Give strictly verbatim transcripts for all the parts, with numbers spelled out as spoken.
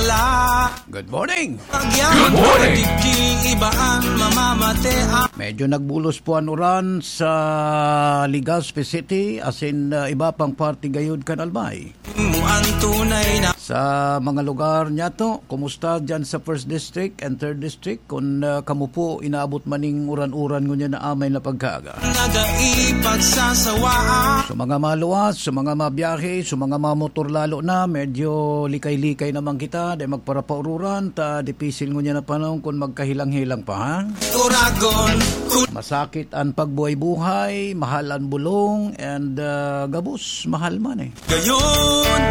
Good morning. Good morning. Digdi iba an mamamate. Medyo nagbulos po ang uran sa Legazpi City, asin, ah, iba pang parte gayod kan Albay. Mo ang tunay na. Sa mga lugar niyato, kumusta dyan sa First District and Third District? Kung, ah, kamo po inaabot maning uran-uran ngunyan na amay na pagkaaga. Nagaipagsasawaan. Sa mga maluwas, sa mga mabiyahe, sa mga mamotor lalo na, medyo likay-likay naman kita, dai magparapaururan, ta dipisil ngunyan na panahon kun magkahilang-hilang pa, ha? Uragon, kun- Masakit an pagbuhay-buhay, mahal an bulong, and, ah, gabos, mahal man eh. Gayon.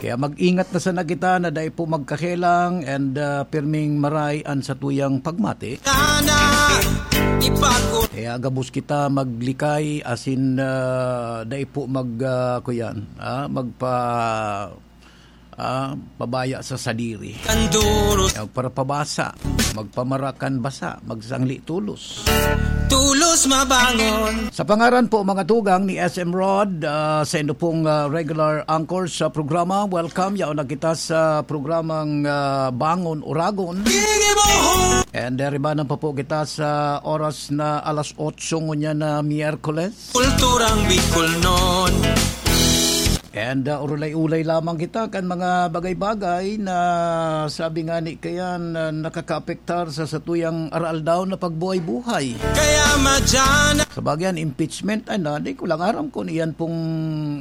Kaya mag-ingat na sana kita na dai po magkakelang and, ah, pirming maray an satuyang pagmati. Sana ipag- Kaya gabos kita maglikay, asin, ah, dai po mag, ah, kuyan, ah, magpa-, ah, pabaya sa sadiri. Kanduros. Kaya magparapabasa, magpamarakan basa, magsangli tulos. Tulos mabangon. Sa pangaran po, mga tugang, ni S M Rod, ah, sa indo pong, ah, regular anchor sa programa, welcome. Yaon na kita sa programang, ah, Bangon Uragon. Ginibo. And, ah, ribanan pa po kita sa oras na alas otso ngunyan na Miyerkules. Kulturang Bicol noon. And, ah, urulay-ulay lamang kita kan mga bagay-bagay na sabi nga ni kayan, ah, nakakaapektar sa satuyang araaldaw na pagbuhay-buhay. Kaya madyan. Sa bagay, an impeachment, ay na, di ko lang aram kung iyan pong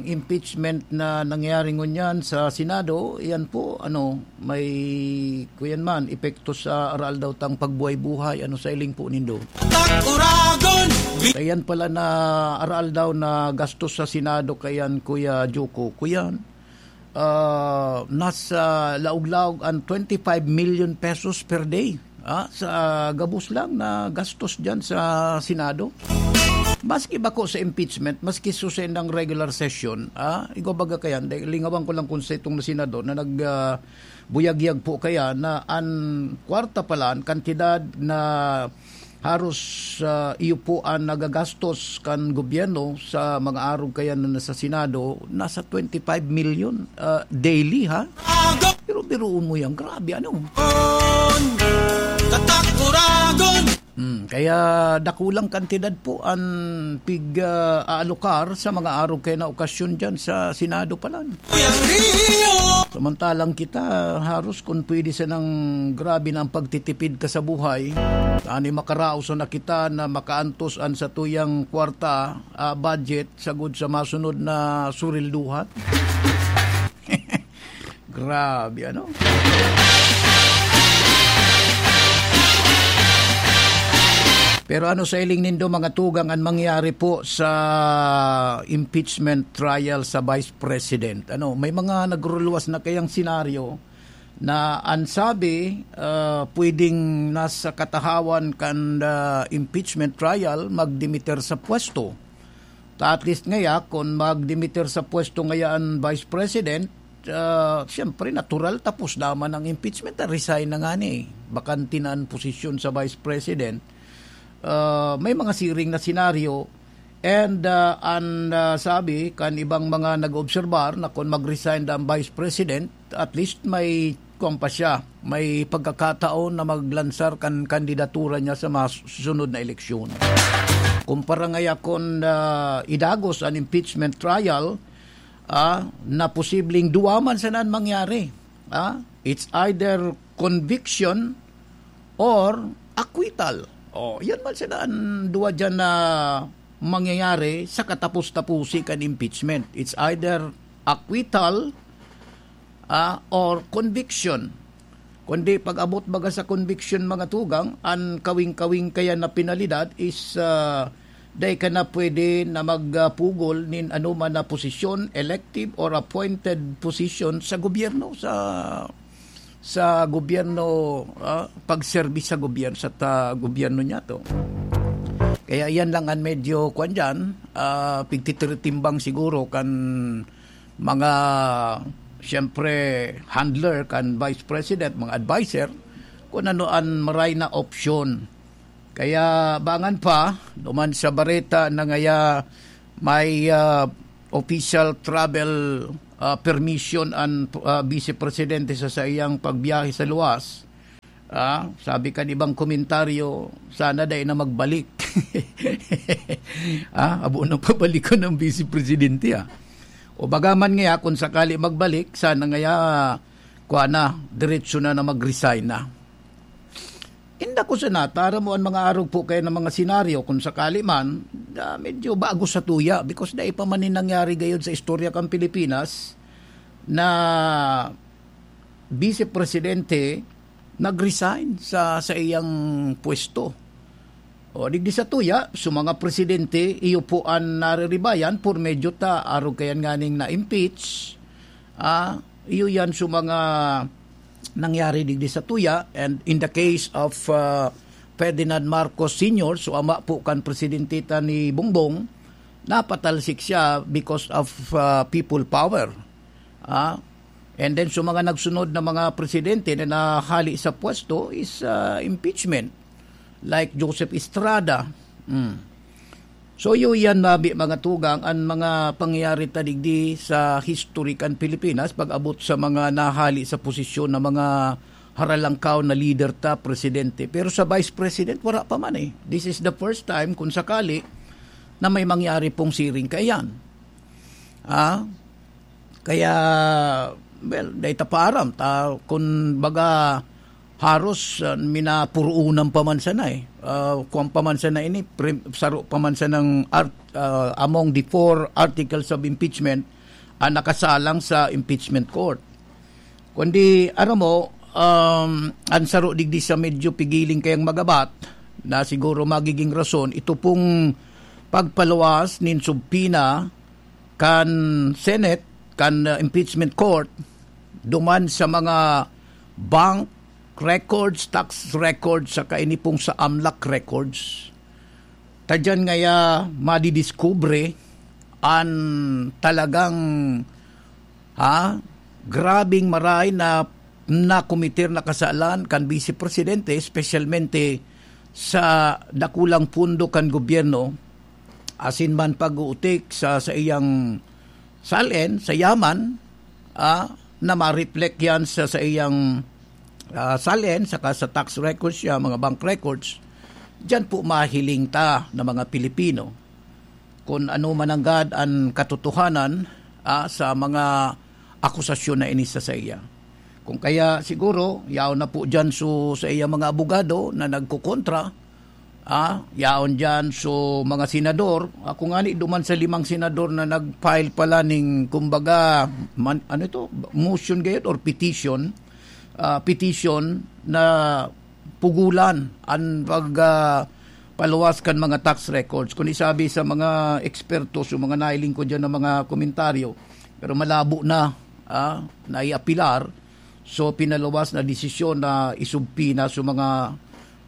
impeachment na nangyari ngunyan sa Senado, iyan po, ano, may, kuyan man, epekto sa araaldaw tang pagbuhay-buhay, ano, sa iling po nindo. Takuragon! Kayan pala na araaldaw na gastos sa Senado kayan, Kuya Joko. Kuyan, ah, nasa laog-laog an twenty-five million pesos per day, ah, sa gabos lang na gastos dyan sa Senado. Maski bako sa impeachment, maski susen ng regular session, ah, igwa baga kayan, dahil lingawan ko lang kung sa itong na senador na nag, ah, buyagyag po kaya na an kwarta pala, an kantidad na haros, ah, iyo po an nagagastos kan gobyerno sa mga arog kaya na nasa Senado, nasa twenty-five million, ah, daily, ha? Pero biruon mo yan, grabe, ano? Katakuragon! Hmm, kaya dakulang kantidad po an pig, ah, aalokar sa mga arog kaya na okasyon dyan sa Senado pala. Samantalang kita, haros kun pwede sanang grabe na ang pagtitipid ka sa buhay, ani makaraos na kita na makaantos an satuyang kwarta, ah, budget, sagod sa masunod na surilduhan. Grabe, ano? Pero ano sa iling nindo, mga tugang, an mangyari po sa impeachment trial sa Vice President? Ano, may mga nagruluwas na kayang senaryo na an sabi, ah, pwedeng nasa katahawan kan, ah, impeachment trial, magdimiter sa pwesto. Ta at least ngaya, kun magdimiter sa pwesto ngaya an Vice President, ah, siyempre, natural, tapos naman ang impeachment, ah, resign na nga ni. Bakante na an posisyon sa Vice President. Ah, may mga siring na senaryo, and, ah, an, ah, sabi kan ibang mga nag-obserbar na kun mag-resign ang Vice President, at least may kuwan pa siya, may pagkakataon na maglansar kan kandidatura niya sa mga susunod na eleksyon. Kumpara ngaya kun, ah, idagos an impeachment trial, ah, na posibleng duwa man sana an mangyari. Ah, it's either conviction or acquittal. Oh, yan man sana an duwa diyan na mangyayari sa katapos-tapusi kan impeachment. It's either acquittal, ah, or conviction. Kundi pag-abot baga sa conviction, mga tugang, an kawing-kawing kaya na penalidad is, ah, dai ka na pwede na magpugol nin anoman na posisyon, elective or appointed position sa gobyerno, sa, sa gobyerno, ah, pagserbi sa gobyerno, sa ta-, gobyerno niya to. Kaya yan lang an medyo, kwan dyan, ah, pigtitiritimbang siguro kan mga, siyempre, handler kan Vice President, mga adviser, kung ano an maray na opsyon. Kaya bangan pa, duman sa bareta na ngaya may, ah, official travel, ah, permission an, ah, Vice Presidente sa saiyang pagbiyahe sa luwas. Ah, sabi kan ibang komentaryo, "Sana dai na magbalik." Ah, abo na pabalikon ng Vice Presidente, ah. O baga man ngaya, kung sakali magbalik, sana ngaya, kuha na, diretso na na mag-resign na. Inda ko sana, tara mo an mga arog po kayo ng mga senaryo, kung sakali man, ah, medyo bago sa tuya, because dai pa man ni nangyari gayod sa istorya kan Pilipinas na Vice Presidente nag-resign sa, sa iyang pwesto. O, digdi sa tuya, so mga presidente, iyo po an nariribayan, por medyo ta, arog kayan nganing na-impeach. Ah, iyo yan so mga nangyari digdi sa tuya. And in the case of, ah, Ferdinand Marcos Senior, so ama po kan presidente ta ni Bongbong, napatalsik siya because of, ah, people power. Ah, and then, so mga nagsunod na mga presidente na nahali sa pwesto is, ah, impeachment. Like Joseph Estrada. Mm. So, iyo yan, mabi, mga tugang, an mga pangyayari ta digdi sa history kan Pilipinas, pag-abot sa mga nahali sa posisyon na mga haralangkaw na leader ta, presidente. Pero sa vice president, wala pa man eh. This is the first time, kung sakali, na may mangyari pong siring kaiyan. Ah? Kaya, well, dai ta paaram. Ta, kun baga, haros, ah, minapuruunan pa man sana eh. Ah, kuwan pa man sana ini, prim-, saro pa man sanang art-, ah, among the four articles of impeachment ang nakasalang sa impeachment court. Kundi, aram mo, um, ang saro digdi sa medyo pigiling kayang magabat na siguro magiging rason, ito pong pagpaluwas nin subpoena kan Senate, kan, uh, impeachment court, duman sa mga bank records, tax records, saka ini pong sa amlak records. Ta diyan ngaya madidiskubre an talagang, ha, grabing maray na nakometer na kasalan kan Vice Presidente, espesyalmente sa dakulang pondo kan gobyerno, asin man pag-uutik sa, sa iyang salen, sa yaman, ah, na ma-reflect yan sa, sa iyang, ah, salen, saka sa tax records niya, mga bank records. Diyan po mahiling ta na mga Pilipino kung ano mananggad an katotohanan, ah, sa mga akusasyon na ini sa saiya. Kung kaya siguro, yaon na po diyan so, sa iyang mga abogado na nagkukontra, ah, yaon diyan so mga senador. Ako ngani, duman sa limang senador na nag-file pala ning, kumbaga, man, ano ito, motion gayud or petition, ah, petition na pugulan an pag, ah, paluwas kan mga tax records. Kung isabi sa mga eksperto, sa mga nailing ko diyan ng mga komentaryo, pero malabo na, ah, naiapilar. So, pinaluwas na desisyon na isubpoena sa mga,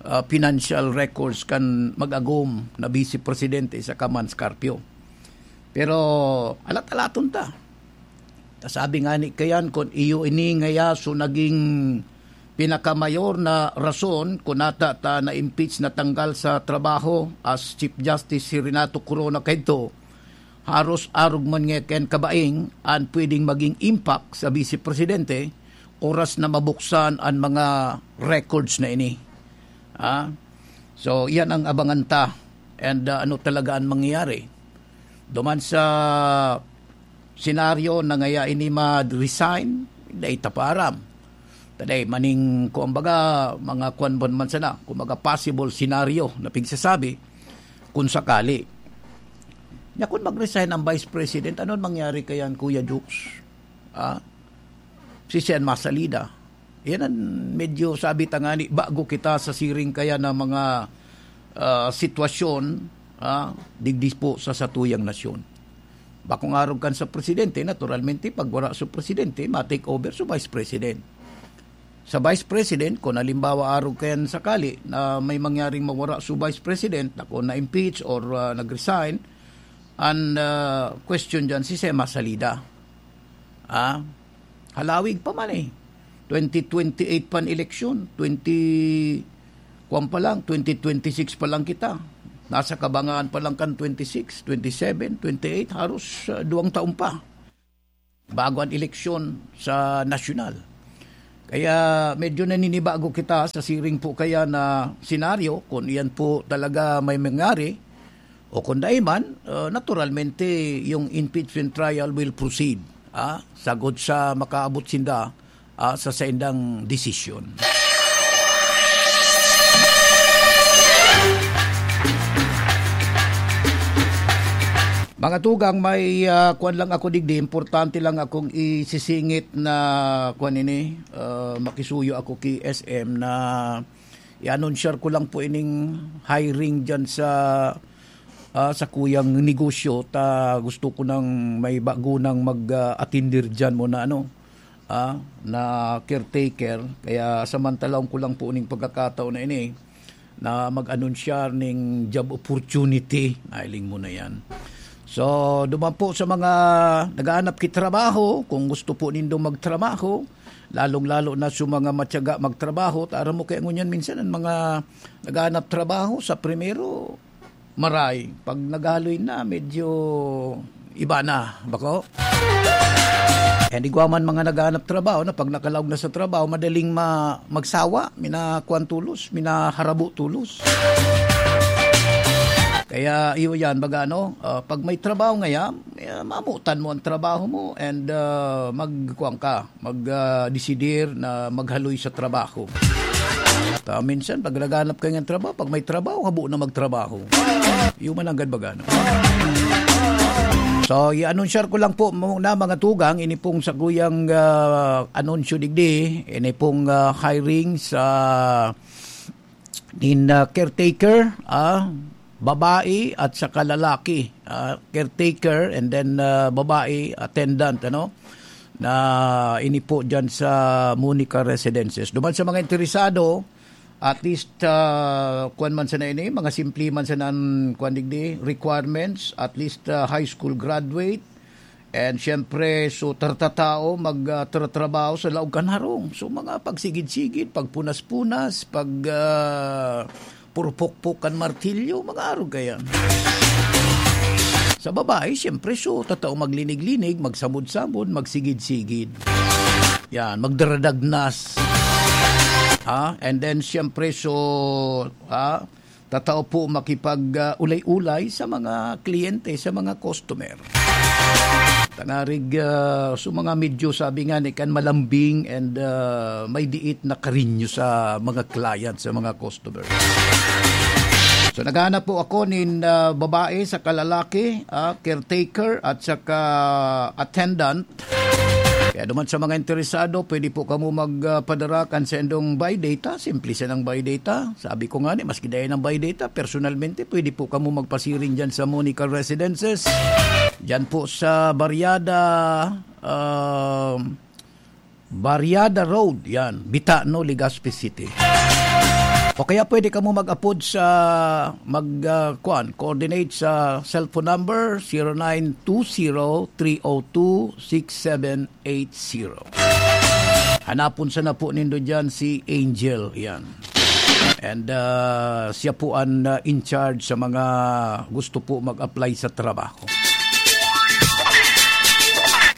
ah, financial records kan mag-agom na Vice Presidente sa Kaman Scarpio. Pero, alat-alaton ta. Kasabi nga ni kayan, kun iyo ini ngaya so naging pinakamayor na rason kun nata ta na-impeach, natanggal sa trabaho as Chief Justice si Renato Corona kaidto, haros arog man nga kan kabaing an pwedeng maging impact sa Vice Presidente oras na mabuksan an mga records na ini. Ah? So, iyan ang abangan ta. And, ah, ano talaga ang mangyayari? Duman sa senaryo na ngaya ini ma-resign, dai ta paaram. Taday, maning, kung baga, mga kwan bon man sana, kung baga possible scenario na pigsasabi, kung sakali. Nya, kung mag-resign ang Vice President, ano ang mangyari kayan, Kuya Jukes? Ah? Si Sen Masalida. Yan ang medyo sabi ta ngani, bago kita sa siring kaya na mga, ah, sitwasyon, ah, digdi po sa satuyang nasyon. Bakong arog kan sa presidente, naturalmente, pag wala sa presidente, ma-take over sa vice president. Sa vice president, kung halimbawa arog kayan sakali na may mangyaring mawara sa vice president, na kung na-impeach or, ah, nag-resign, ang, ah, question dyan si Sema Salida. Ah, halawig pa man eh. Twenty twenty-eight pan eleksyon, twenty, kwan pa lang, twenty twenty-six pa lang kita. Nasa kabangaan pa lang kan twenty-six, twenty-seven, twenty-eight, haros, ah, duwang taon pa. bago an eleksyon sa nasyonal. Kaya medyo naninibago kita sa siring po kaya na senaryo, kung iyan po talaga may mangyari, o kung dai man, ah, naturalmente, yung impeachment trial will proceed, ah, sagod sa makaabot sinda, ah, sa saindang desisyon. Mga tugang, may, ah, kwan lang ako digdi, importante lang akong isisingit na kwan ini, ah, makisuyo ako ki S M na i-anunsyar ko lang po ining hiring dyan sa, ah, sa kuyang negosyo, ta gusto ko nang may bago nang mag, ah, atindir dyan mo na ano, ah, na caretaker. Kaya samantalahon ko lang po ning pagkakataon na ini na mag-anunsyar ning job opportunity. Nailing mo na yan. So, duman po sa mga naghahanap ki trabaho, kung gusto po nindo magtrabaho, lalong-lalo na sa mga matyaga magtrabaho, tara mo kaya ngunyan minsan ang mga naghahanap trabaho sa primero, maray. Pag naghaloy na, medyo iba na, bako? And igwa man mga naghahanap trabaho na pag nakalaog na sa trabaho, madaling ma-, magsawa, minakuan tulos, minaharabo tulos. Kaya iyo yan, baga ano, ah, pag may trabaho ngayon, eh, mamutan mo ang trabaho mo and, ah, magkuan ka, mag, ah, desidir na maghaloy sa trabaho. Ta minsan, pag naghanap ka ng trabaho, pag may trabaho, habo na magtrabaho. Yung mananggad baga, no? So, i-anunsyar ko lang po muna, mga tugang, ini pong saguyang, ah, anunsyo digdi, ini pong, ah, hiring sa nin, ah, caretaker, ah, babae at saka lalaki, ah, caretaker and then, ah, babae attendant, ano, na ini po dyan sa Monica Residences. Duman sa mga interesado, at least, ah, kwan man sana ini, mga simple man sana ang kwan digdi, requirements, at least, ah, high school graduate, and siyempre, so, tartatao, mag, ah, tratrabaho sa laog kan harong. So, mga pagsigid-sigid, pagpunas-punas, pag, ah, purpok-pok kan martilyo, mga arog kaya. Sa babae, siyempre, so, tatao maglinig-linig, magsabod-sabod, magsigid-sigid. Yan, magdaradagnas. Ha? And then, siyempre, so, ha? Tatao po makipag, ah, ulay-ulay sa mga kliyente, sa mga customer. Tangarig, ah, so mga medyo sabi nga ni kan malambing and, ah, may diit na karinyo sa mga client, sa mga customer. So naghahanap po ako nin, ah, babae saka lalaki, ah, caretaker at saka attendant. Kaya duman sa mga interesado, pwede po kamo magpadara kan sendong biodata. Simple sanang biodata. Sabi ko nga ni, maski dai nang biodata, personalmente, pwede po kamo magpasiring dyan sa Monica Residences. Dyan po sa Barriada, um, Barriada Road, yan, Bitano, Legazpi City. O kaya pwede kamo mag-apod sa, mag, ah, kuan, coordinate sa cellphone number, zero nine two zero three oh two six seven eight zero. Hanapon sana po nindo dyan si Angel, yan. And, ah, siya po ang, ah, in charge sa mga gusto po mag-apply sa trabaho.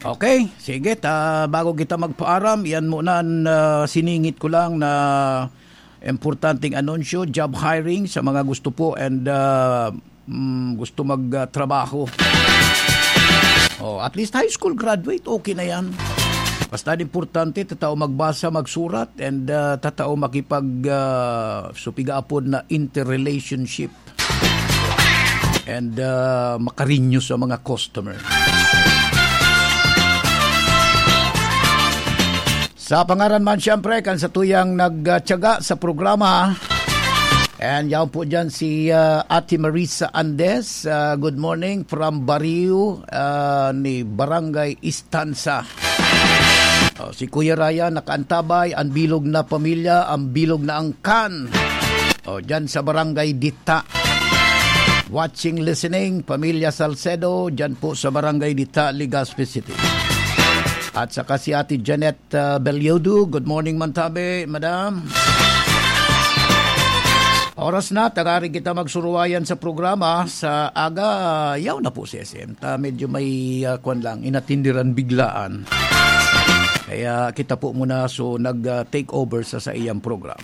Okay, sige, ta, bago kita magpaaram, yan muna ang, ah, siningit ko lang na importanteng anunsyo, job hiring sa mga gusto po and, ah, mm, gusto mag, ah, trabaho. Oh, at least high school graduate, okay na yan. Basta ang importante, tatao magbasa, magsurat, and, ah, tatao makipag, ah, supiga apod na interrelationship. And, ah, makarinyo sa mga customer. Sa pangaran man, siyempre, kan satuyang nagtiyaga sa programa. And yaon po dyan si, ah, Ate Marisa Andes. Ah, good morning from Barrio, ah, ni Barangay Istanza. Oh, si Kuya Ryan nakaantabay, ang bilog na pamilya, ang bilog na angkan. Oh, dyan sa Barangay Dita. Watching, listening, Pamilya Salcedo, dyan po sa Barangay Dita, Legazpi City. At saka si Ate Janet, ah, Belyodo. Good morning, Mantabe, Madam. Oras na, tangaring kita magsuruwayan sa programa sa aga. Yaw na po si S M. Ta, medyo may, ah, kwan lang, inatindiran biglaan. Kaya kita po muna, so, nag, ah, take over sa, sa iyang programa.